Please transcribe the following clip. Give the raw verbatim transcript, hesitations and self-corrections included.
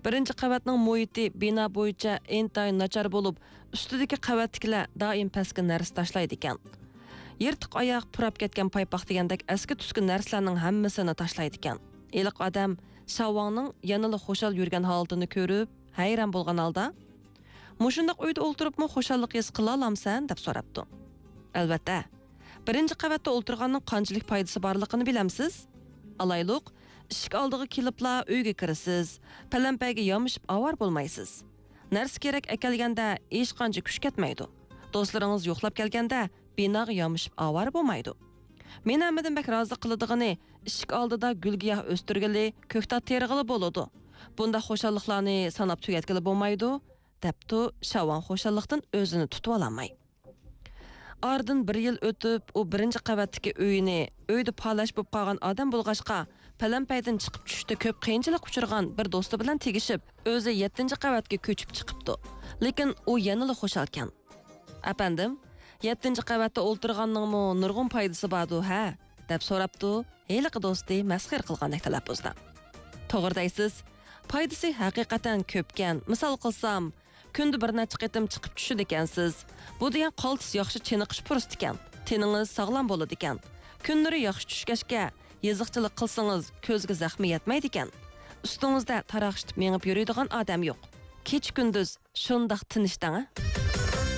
بىرىنچى قەۋەتنىڭ مۇھىتى بىنا بويىچە ئىنتايىن ناچار بولۇپ، ئۈستىدىكى قەۋەتتىكىلەر دائىم پەسكە نەرسە تاشلايدىكەن. يىرتىق ئاياق، پۇراپ كەتكەن پايپاق دېگەندەك ئەسكى-تۈسكى نەرسىلەرنىڭ ھەممىسىنى تاشلايدىكەن. ھېلىقى ئادەم شاۋاڭنىڭ يەنىلا خۇشال يۈرگەن ھالىتىنى كۆرۈپ، ھەيران بولغان ھالدا، «مۇشۇنداق ئۆيدە ئولتۇرۇپمۇ خۇشاللىق ھېس قىلالامسەن؟» دەپ سوراپتۇ. «ئەلۋەتتە. بىرىنچى قەۋەتتە ئولتۇرغاننىڭ قانچىلىك پايدىسى بارلىقىنى بىلەمسىز؟ ئالايلۇق، ئىشىك ئالدىغا كېلىپلا ئۆيگە كىرىسىز، پەلەمپەيگە يامىشىپ ئاۋارە بولمايسىز. نەرسە-كېرەك ئەكەلگەندە ھېچقانچە كۈچ كەتمەيدۇ. دوستلىرىڭىز يوقلاپ كەلگەندە بىناغا يامىشىپ ئاۋارە بولمايدۇ. مېنى ھەممىدىن بەك رازى قىلىدىغىنى، ئىشىك ئالدىدا گۈل-گىياھ ئۆستۈرگىلى، كۆكتات تېرىغىلى بولىدۇ. بۇنداق خۇشاللىقلارنى ساناپ تۈگەتكىلى بولمايدۇ» دەپتۇ شاۋاڭ خۇشاللىقتىن ئۆزىنى تۇتۇۋالالماي. ئارىدىن بىر يىل ئۆتۈپ، ئۇ بىرىنچى قەۋەتتىكى ئۆيىنى، ئۆيدە پالەچ بولۇپ قالغان ئادەم بولغاچقا، پەلەمپەيدىن چىقىپ چۈشۈشتە كۆپ قىيىنچىلىق ئۇچرىغان بىر دوستى بىلەن تېگىشىپ، ئۆزى يەتتىنچى قەۋەتكە كۆچۈپ چىقىپتۇ. لېكىن ئۇ يەنىلا خۇشالكەن. «ئەپەندىم، يەتتىنچى قەۋەتتە ئولتۇرغاننىڭمۇ نۇرغۇن پايدىسى باردۇ ھە؟» دەپ سوراپتۇ ھېلىقى دوستى مەسخىرە قىلغاندەك تەلەپپۇزدا. «توغرا دەيسىز، پايدىسى ھەقىقەتەن كۆپكەن. مىسال قىلسام، كۈندە بىر نەچچە قېتىم چىقىپ چۈشىدىكەنسىز. بۇ دېگەن قالتىس ياخشى چېنىقىش پۇرسىتىكەن. تېنىڭىز ساغلام بولىدىكەن. كۈنلىرى ياخشى چۈشكەچكە، يېزىقچىلىق قىلسىڭىز، كۆزگە زەخمى يەتمەيدىكەن. ئۈستىڭىزدە تاراقشىتىپ مېڭىپ يۈرىدىغان ئادەم يوق. كېچە-كۈندۈز شۇنداق تىنچ دەڭە.»